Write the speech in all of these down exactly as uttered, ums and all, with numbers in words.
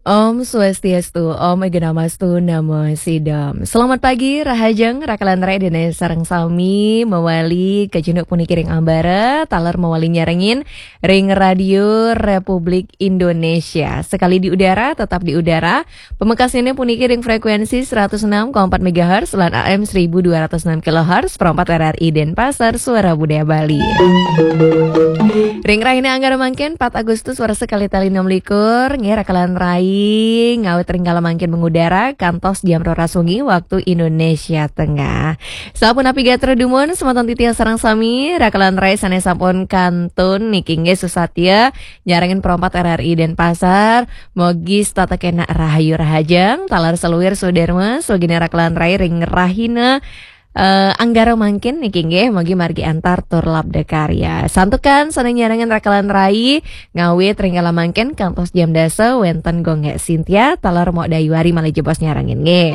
Om Swastiastu, Om Egunamastu Namo Sidam. Selamat pagi, Rahajeng, Rakalan Rai dene sareng sami mawali kajenguk puniki ring ambara, taler mawali nyarengin ring Radio Republik Indonesia. Sekali di udara, tetap di udara. Pamekasnyané puniki ring frekuensi seratus enam koma empat megahertz lan A M seribu dua ratus enam kilohertz, perempat R R I Denpasar, Suara Budaya Bali. Ring rahina Anggara mangkin, empat Agustus, warsa kalih tali enam likur, nggih, Rakalan Rai, ngawit ring kala mangkin mengudara, kantos jam roras wengi, waktu Indonesia Tengah. Sapunapi gatra dumun, semeton titiang sareng sami, Rakalan Rai sané sampun kantun, niki nggih susatya, nyarengin perempat R R I Denpasar, mogi setata kenak rahayu rahajeng, taler saluir sudarma, swagina Rakalan Rai ring rahina, eh, Anggara mangkin niki nggih, mogi margi antar tur labda karya. Santukan sané nyarengin Rakalan Rai, ngawit ring kala mangkin kantos jam dasa wénten Gung Gek Sintia, taler Mok Dayuari malih jebos nyarengin nggih.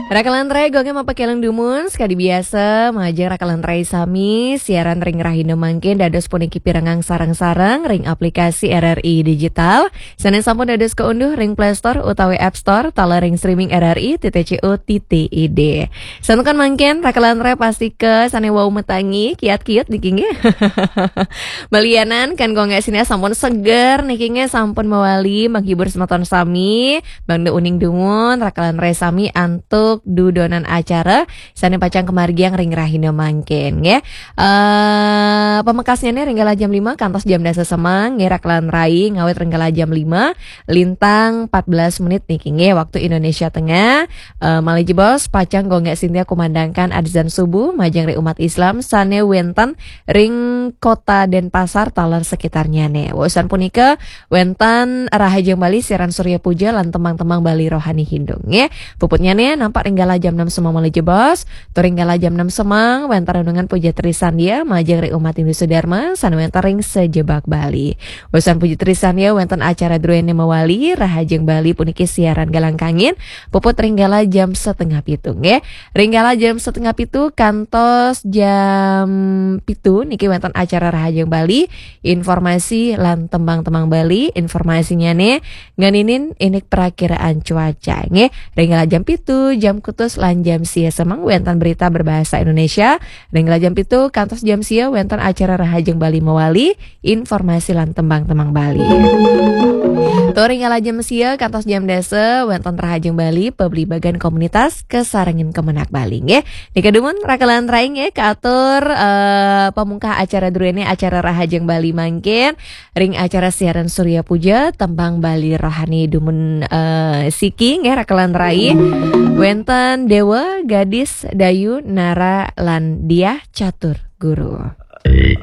Rakalan Rai, Gung Gek mapakeleng dumun, sekadi biasa, majeng Rakalan Rai sami, siaran ring rahina mangkin dados puniki pirengang sareng-sareng ring aplikasi R R I Digital, sané sampun dados kaunduh ring Play Store utawi App Store, taler ring streaming R R I titik C O titik I D. Santukan mangkin, Rakalan Rai pastika sané wau matangi, kiat-kiat niki nggih. Malianan kan Gung Gek Sintia sampun seger niki nggih, sampun mawali menghibur semeton sami, mangda uning dumun, Rakalan Rai sami antuk dudonan acara, sané pacang kamargiang ring rahina mangkin nggih. Eh, pamekasnyané ring kala jam lima kantos jam dasa semeng, nggih, Rakalan Rai ngawit ring kala jam lima, lintang empat belas menit niki nggih, waktu Indonesia Tengah. Eh, malih jebos, pacang Gung Gek Sintia kumandangkan adzan subuh, majeng ring umat Islam, sané wénten ring kota Denpasar, taler sekitarnyané. Wusan punika, wénten Rahajeng Bali, siaran Surya Puja, lan tembang-tembang Bali Rohani Hindu nggih. Puputnyané nampak ring kala jam enam semeng malih jebos, tur ring kala jam enam semeng, wénten renungan Puja Trisandya, majeng ring umat Hindu Sudarma, sané wénten ring sajebag Bali. Wusan Puja Trisandya, wénten acara druéné mawali, Rahajeng Bali puniki siaran galang kangin, puput ring kala jam setengah pitu nggih. Ring kala jam setengah pitu kantos jam pitu niki wénten acara Rahajeng Bali, informasi lan tembang-tembang Bali, informasinyané ngeninin indik prakiraan cuaca nggih. Ring kala jam pitu, jam kutus lan jam sia semeng wénten berita berbahasa Indonesia. Ring kala jam pitu kantos jam sia wénten acara Rahajeng Bali mawali, informasi lan tembang-tembang Bali. Tur ring kala jam sia kantos jam dasa wénten Rahajeng Bali, pabligbagan komunitas kasarengin Kemenag Bali nggih. Nika dumun Rakalan Rai nggih, kaatur, eh, pamungkah acara druéné, acara Rahajeng Bali mangkin, ring acara siaran Surya Puja, tembang Bali Rohani dumun, eh, siki nggih, Rakalan Rai. Wénten Dewa, Gadis, Dayu, Nara, lan Diah Catur Guru.